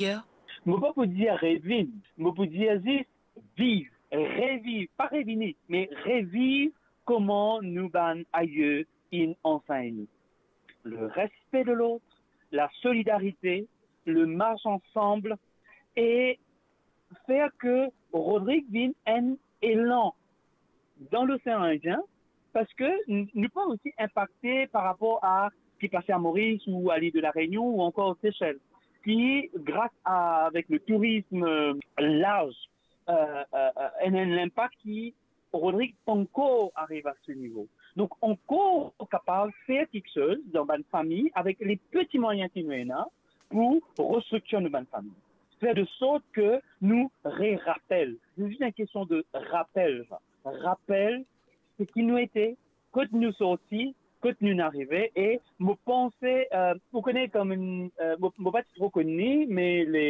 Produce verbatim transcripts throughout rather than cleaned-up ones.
ayer? Mo pa pou dir revinn, mo pou dir zis viv, reviv, pa revini, me reviv kouma nou bann aye inn ansegn nou. Le respect de l'autre, la solidarité, le marche ensemble, e fer ke Rodrig vinn enn elan dan Losean Indien, parski n-, nou pe osi inpakte par rapor a ki pase a Moris ou a lil de la Reynion ou ankor Sesel, ki, gras a, avek le tourism, euh, larz, euh, euh, euh, enn, enn linpak ki Rodrig pankor ariv a se nivo. Donk, ankor kapav fer kiksoz dan bann fami avek le peti mwayin ki nou ena pou restriktir nou bann fami. Fer de sort ke nou re-rapel. Se zis enn kestion de rapel, sa. Rapel seki nou ete, kot nou sorti, kot nou arive, e mo panse, euh, ou kone kouma, euh, mo, mo pa ti tro konn li, me le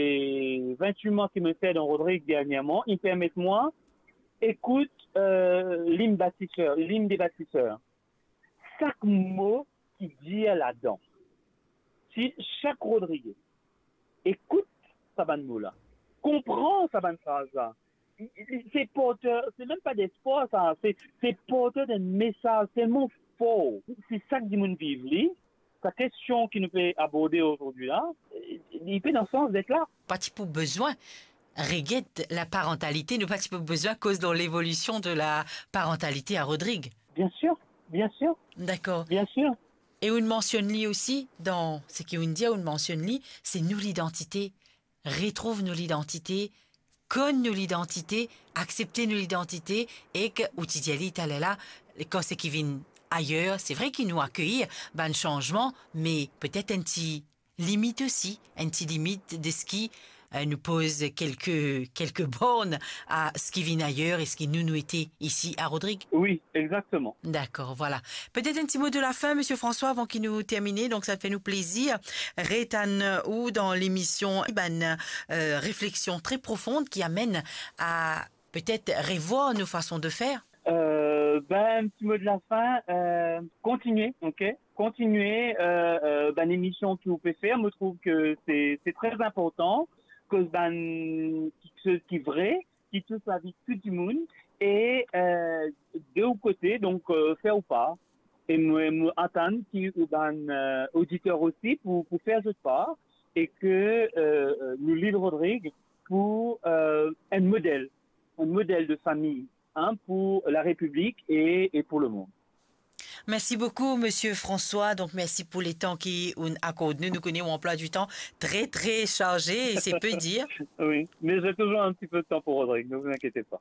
vintwit mwa ki mo fer dan Rodrig dernierman, li permet mwa ekout, euh, lim batiser, lim de batiser. Sak mo ki dir ladan, si sak Rodrigez ekout sa bann mo la, konpran sa bann fraz la, se porter, se mem pa despwar sa, se, se porter de mesaz telman for. Si sak dimoun viv li, sa kestion ki nou pe aborde azordi la, li pe dan sans det la. Pa ti pou bizin reget la parantalite, nou pa ti pou bizin koz lor levolision de la parantalite a Rodrig. Bien sir, bien sir. Dakor. Bien sir. E ou'nn mansionn li osi, dan seki ou'nn dir, ou'nn mansionn li, se nou lidantite, retrouv nou lidantite, konn nou lidantite, aksepte nou lidantite, ek ou ti dir li taler la, kan seki vinn ayer, se vre ki nou akeir bann sanzman, me petet enn ti limit osi, enn ti limit de seki, euh, nou poz kelke, kelke born a seki vinn ayer e seki nou, nou ete isi a Rodrig. Wi, exakteman. Dakor, vwala. Petet enn ti mo de la fin, Misie François, avan ki nou termine. Donk, sa fer nou plezir ret ann ou dan lemision, bann, euh, refleksion tre profond ki amenn a petet revwar nou fason de fer. Euh, ben, enn ti mo de la fin, euh, kontinie, ok? Kontinie, euh, euh, bann emision ki ou pe fer. Mo trouv ke se, se tre inportan, koz bann kiksoz ki vre, ki tous lavi tou dimoun, e, euh, de ou kote, donk, euh, fer ou par. E mo, mo atann ki ou bann, euh, oditer osi pou, pou fer zot par, e ke, euh, euh, nou lil Rodrig pou, euh, enn model, enn model de fami, hein, pou la Repiblik e, e pou lemond. Mersi boukou, Misie François. Donk, mersi pou letan ki ou'nn akord nou. Nou kone ou anplwa di tan tre, tre sarze, e se pe dir. Wi, me j'ai toujours un petit peu de temps pour Rodrig, ne vous inquiétez pas.